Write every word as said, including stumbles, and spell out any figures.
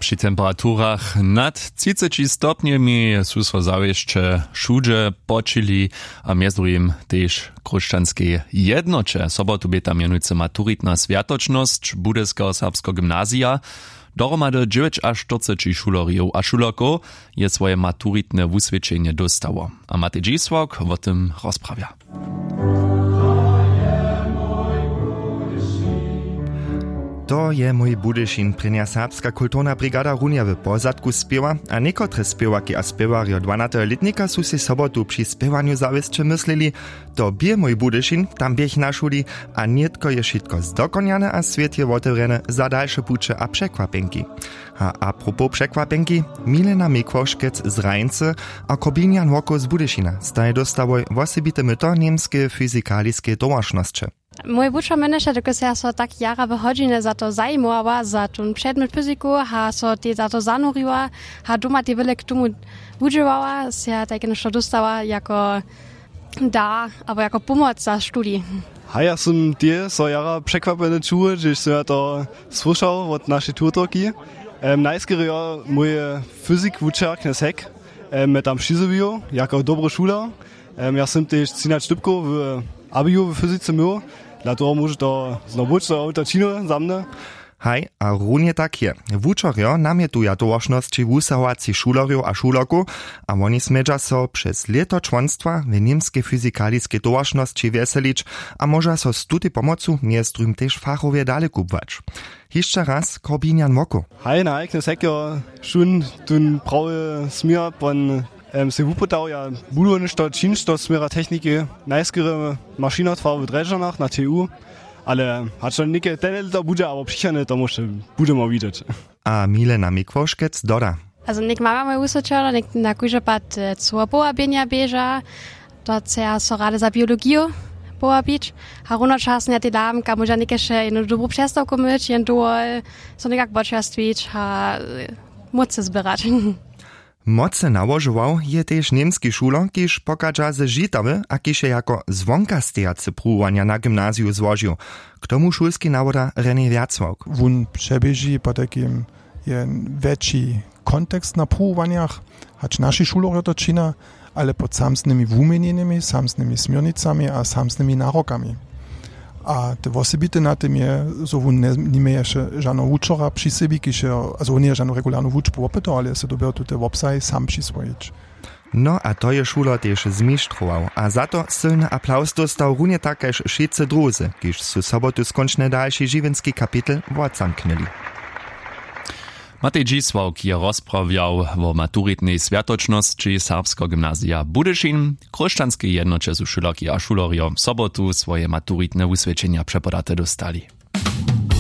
Při temperaturach nad třiceći stopnjemi su so zawěsće wšudźe počili, a mjez druhim tež w chróšćanskej jednoće. Sobotu bě tam mjenujcy maturitna swjatočnosć budyskeho serbskeho gymnazija. Dohromady dźewjećaštyrceći šulerjow a šulerkow je swoje maturitne wuswědčenje dóstało, a Matej Dźisławk wo tym rozprawja. To je mój Budyšin, prěnja serbska kulturna brigada runje w pozadku spěwa, a někotre spěwarki a spěwarjo dwanateho lětnika su sej sobotu při spěwanju zawěsće myslili: „To bě mój Budyšin, tam běch na šuli, a nětko je wšitko zdokonjane a swět je wotewrjene za dalše puće a překwapjenki.“ A apropos překwapjenki, Milena Mikłoškec z Rajncy a Korbinian Woko z Budyšina staj dóstałoj wosebite myto němskeje fyzikaliskeje towaršnosće. Mój wučer mjenješe, dokelž ja so tak jara w hodźinje za to zajimowała, za tón předmjet fyziku, a so tež za to zanuriła, a doma tež wjele k tomu wudźěłała, sej ja tajke něšto dóstała jako dar abo jako pomoc za studij. Haj, ja sym tež so jara překwapjeny čuł, hdźež sym ja to słyšał wot našej tutorki. Em, najskerje jo mój fyzikwučer knjez Heck, em, mje tam přizjewił jako dobry šuler. Em, ja sym tež třinaće dypkow w abiju w fyzice měł, dla toho móže to znowu być, to je to činno za mnje. Haj, a runje tak je. Wučerjo namjetuja towaršnosći wusahowacych šulerjow a šulerkow, a woni smědźa so přez lěto čłonstwa w němskej fyzikaliskej towaršnosći wjeselić a móža so z tutej pomocu mjez druhim tež fachowje dale kubłać. Hišće raz Korbinian Woko. Haj, na knjez Heck jo šón tón prawy směr pon, em, sej wupytał, ja budu něšto čińć do směra techniki, najskerje mašinotwar w Drježdźanach na T U, ale hač to něke tene lěto budźe abo přichodne, to móže budźemo widźeć. A Milena Mikłoškec doda: „Azo něk mama mój wuswědčała, něk na kóždy pad, e, cło powabjenja běža, to chceja so rady za biologiju powabić, a runočasnje ja tež dam, kaž móža někež jednu dobru přestawku myć, jen dowol so někak počerstwić a, e, mócy zběrać.“ Mocy nałožował je tež němski šuler, kiž pochadźa ze Žitawy a kiž je jako zwonkastejacy pruwowanja na gymnaziju złožił. K tomu šulski nawoda René Wjacławk. Wón přeběži potajkim je wjetši kontekst na pruwowanjach, hač naši šulerjo to čina, ale pod samsnymi wuměnjenymi, samsnymi směrnicami a samsnymi narokami. A te wosebite na tym je, zo wón njeměješe žano wučera při sebi, kiž je, azo wón njeje žanu regularnu wučbu wopytał, ale je so dyrbjał tute wobsahi sam přiswojić. No a to je šuler tež zmištrował a za to sylny aplaws dóstał runje tak kaž wšitcy druzy, kiž su sobotu skónčnje dalši žiwjenski kapitel wotzamknyli. Matej Dźisławk je rozprawjał wo maturitnej swjatočnosći serbskeho gymnazija Budyšin. W chróšćanskej jednoće su šulerki a šulerjo sobotu swoje maturitne wuswědčenja přepodate dóstali.